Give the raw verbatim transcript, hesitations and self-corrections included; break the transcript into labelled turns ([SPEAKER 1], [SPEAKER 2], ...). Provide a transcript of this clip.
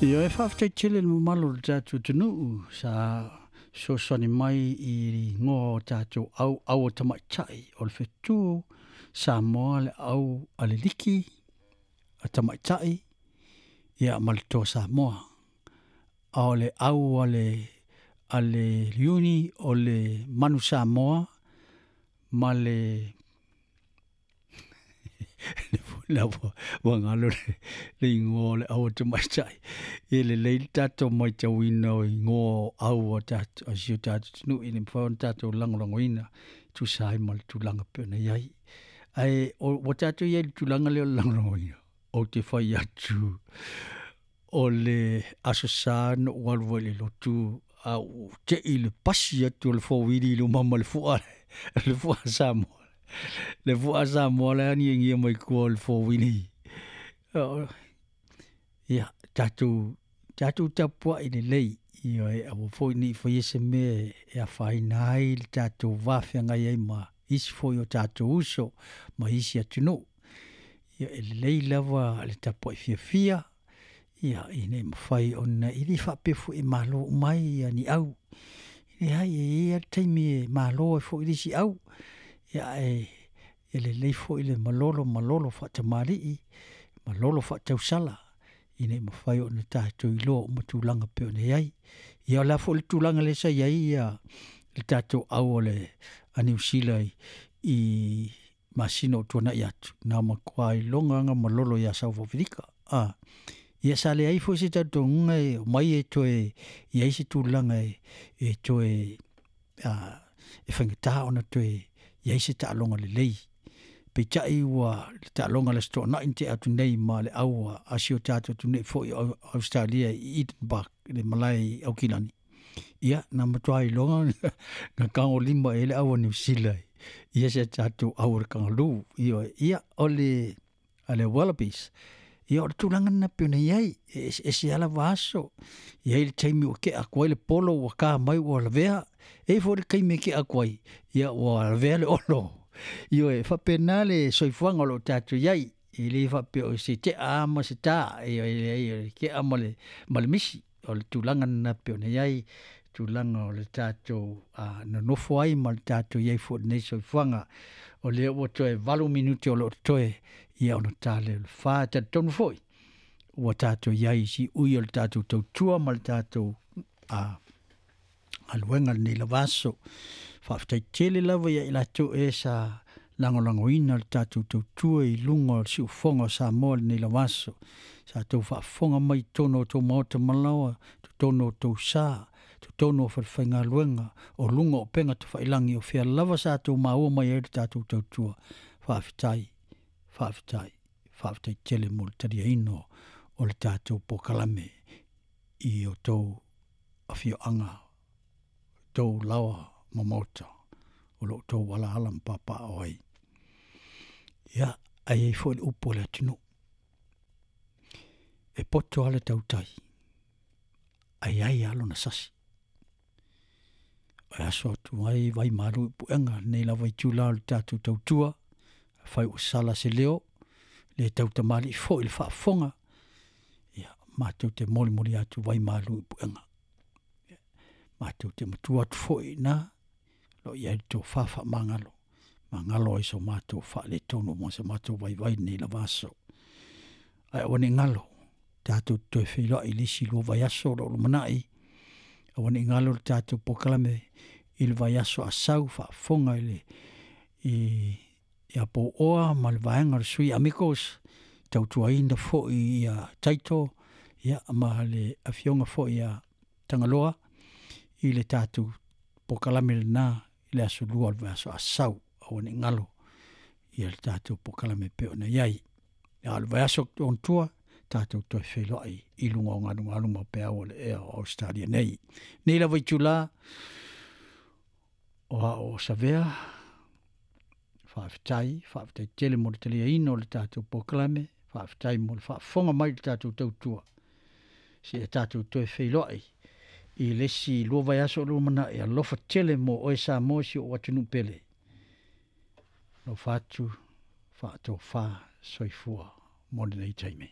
[SPEAKER 1] Ia e faafetai tele le mamalu o le tatou atunuu sa fesoasoani mai i igoa o tatou au au o tamaitai o le fetu Samoa le au a le liki a tamaitai ia ma le Toa Samoa. A o le au a le a le Iuni o le Manu Samoa ma le la ua galo le, le igoa o le au a tamaitai. E lelei le tatou matauina o igoa o au a tatou a si o tatou atunuu ina ia mafai ona tatou lagolagoina e tusa ai ma le tulaga e pei ona i ai. Ae ua tatou i ai i le tulaga lea o le lagolagoina, ou te fai atu o le Aso Sa na ou alu ai i le lotu a ou tei i le pasi atu o le four-wheelie i luma ma le fua le fua Samoa le fua Samoa la e agiagia mai tua o le four-wheelie. Ia, tatou tatou tapuai lelei, ioe, aua foi ne i faia se mea e afaina ai le tatou va feagai ai ma isi foi o tatou uso ma isi atunuu. Ia, e lelei lava le tapuai fiafia, ia, ina ia mafai ona, e le faapea foi e malo uma ai ni au. E leai, e i ai lava le taimi e malo ai foi le isi au, ia ae e lelei foi le malolo malolo faatamalii, malolo faatausala, ina ia mafai ona tatou iloa uma tulaga e pei ona i ai. Ia o le a foi le tulaga lea sa i ai le tatou au a le a Niu Sila i masina o tuanai atu, na matua iloga lava malolo ia South Africa. A, ia sa leai foi se talitonuga e omai e toe i ai se tulaga e, e toe a, e faigata ona toe i ai se taaloga lelei. Peitai ua le taaloga i le Aso Toonai na tea atu nei ma le au a si o tatou atunuu foi o Ausetalia i Eden Park i le malae i Aukilani, ia na matua iloga na tagolima i ai le au a Niu Sila ia si a tatou au o le Kangaroo. Ioe, ia o le a le Wallabies, ia o le tulaga lena pei ona i ai, e eseese lava lava aso. E i ai le taimi ua tea atu ai le polo ua ta mai ua lavea, e i ai foi le taimi e tea atu ai, ia ua lavea le olo. Ioe, e faapena le soifuaga o lo o tatou i ai, e le faapea o se tea lava ma se ta, ioe, e leai o le tea ma le, ma le misi. O le tulaga lena pei ona i ai, tulaga o le tatou a, nonofo ai ma le tatou i ai foi i lenei soifuaga. O lea ua toe valu minute o lo o totoe ia ona ta lea o le fa. E talitonu foi ua tatou i ai i siui o le tatou tautua ma le tatou a, galuega lenei lava aso. Faafetai tele lava ia i latou e sa lagolagoina le tatou tautua i luga o le siufofoga o Samoa i lenei lava aso. Sa tou faafofoga mai i totonu o tou maota malaoa, totonu o tou sa, totonu o falefaigaluega, o luga o upega tafailagi, o fea lava sa tou maua mai ai le tatou tautua. Faafetai, faafetai, faafetai tele mo le taliaina o le tatou polokalame i o tou afioaga, tou laoa ma maota o lo o tou alaala ma papaaao ai. Ia, ae i ai foi le upu a le atunuu, e poto lava le tautai, ae i ai lava lona sasi. E aso atu ai vai malu i puega lenei lava itula o le tatou tautua, afai ua sala se leo, le tautamalii foi i le faafofoga, ia, matou te molimoli atu vai malu i puega. Matou te matua atu foi i ina, o lo o i ai le tofa faamagalo, magalo ai so matou faaletonu ma so matou vaivai lenei lava aso. Ae aua ne i galo, tatou te toe feiloai i le isi lua vaiaso o lo o lumanai, aua ne i galo le tatou polokalame i le vaiaso a sau faafofoga i le i ia Pouoa ma le vaega o le Sui Amigos, tautuaina foi ia Taito ia ma le afioga foi ia Tagaloa i le tatou polokalame lena i le aso lua o le vaiaso a sau, aua ne i galo ia le tatou polokalame e pei ona i ai. A o le vaiaso ona tua, tatou toe feiloai i luga o galugalu ma peau o le ea o Ausetalia nei. Nei lava itula, o ao o Savea, faafetai, faafetai tele mo le taliaina o le tatou polokalame, faafetai mo le faafofoga mai i le tatou tautua. Seia tatou toe feiloai i le isi lua vaiaso o lumanai, alofa tele mo oe Samoa si ou atunuu pele. Alofa atu, faatofa, soifua mo lenei taimi.